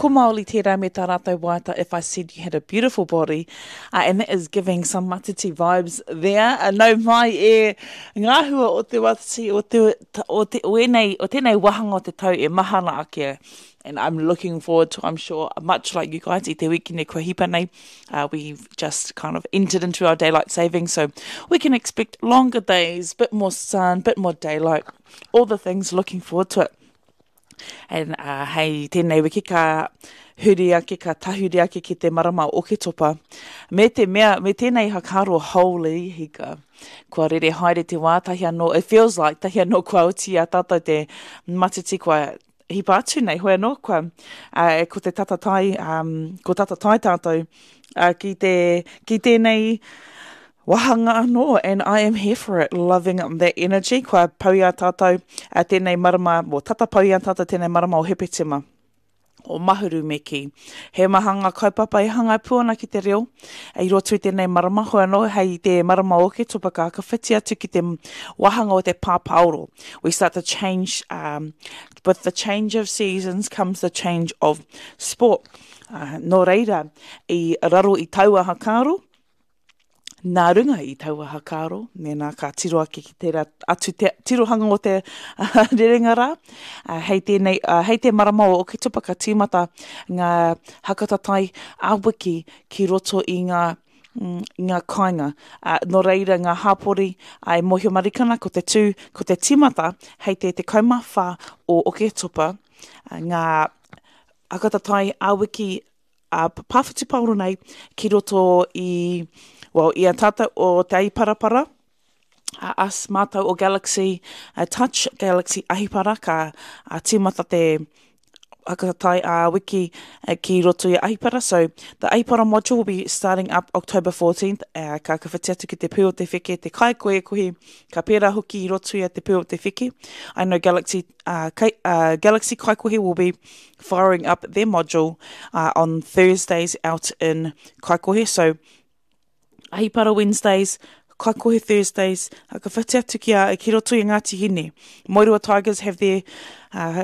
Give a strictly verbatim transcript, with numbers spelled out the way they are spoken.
Ko Maoli tērā me tā rātou waiata If I Said You Had a Beautiful Body. Uh, and that is giving some matiti vibes there. Uh, nau mai e ngā hua o te matiti o, te, o, te, o, enei, o tēnei wāhanga o te tau e mahana ake. And I'm looking forward to, I'm sure, much like you guys, i te wikine kua hipa nei, uh, we've just kind of entered into our daylight saving, so we can expect longer days, bit more sun, bit more daylight, all the things, looking forward to it. And uh, hei tēnei wiki ka huri ake, ka tahuri ake ki te marama o Oketopa. Me te mea, me tēnei whakaaro holy hika. Kua rere haere te wā, tahi anō, it feels like, tahi anō kua oti a tātou te matiti kua hipa atu nei, hoi anō, kua, uh, ko te tatatai, um, ko tatatai tātou uh, ki, te, ki tēnei wāhanga anō, and I am here for it, loving that energy. Kua pau i a tātou uh, tēnei marama, mo tata pau i a tātou tēnei marama o Hepetema o Mahuru me kī. He maha ngā kaupapa e hāngai pū ana ki te reo i roto i tēnei marama, hoi anō hei te marama o Oketopa ka whakawhiti atu ki te wāhanga o te pāpāoro. We start to change, um, with the change of seasons comes the change of sport. Uh, nō reira, i raro i taua whakaaro, nā runga i taua whakaaro, mēnā ka tiro ake ki tērā atu te tirohanga o te rerenga rā. Uh, hei, tēnei, uh, hei te marama o Oketopa ka tīmata ngā hakatatai ā-wiki ki roto i ngā mm, i ngā kāinga. Uh, nō reira ngā hāpori uh, e mōhio marikana ko te tū, ko te tīmata hei te tekau mā whā o Oketopa uh, ngā hakatatai ā-wiki uh, pāwhutupaoro nei ki roto i, well, i a tātou o Te Ahiparapara, uh, us mātou o Galaxy uh, Touch, Galaxy Ahipara, ka uh, tīmata te hakatatai ā-wiki uh, ki roto i Ahipara. So, the Ahipara module will be starting up October fourteenth. Uh, ka whakawhiti atu ki te Pū o te Wheke, te Kaikohekohe, ka pērā hoki i roto i a te Pū o te Wheke. I know Galaxy, uh, Kai, uh, Galaxy Kaikohe will be firing up their module uh, on Thursdays out in Kaikohe. So, Ahipara Wednesdays, Kaikohe Thursdays, ka whiti atu ki, a, ki roto i Ngāti Hine. Moerewa Tigers have their uh,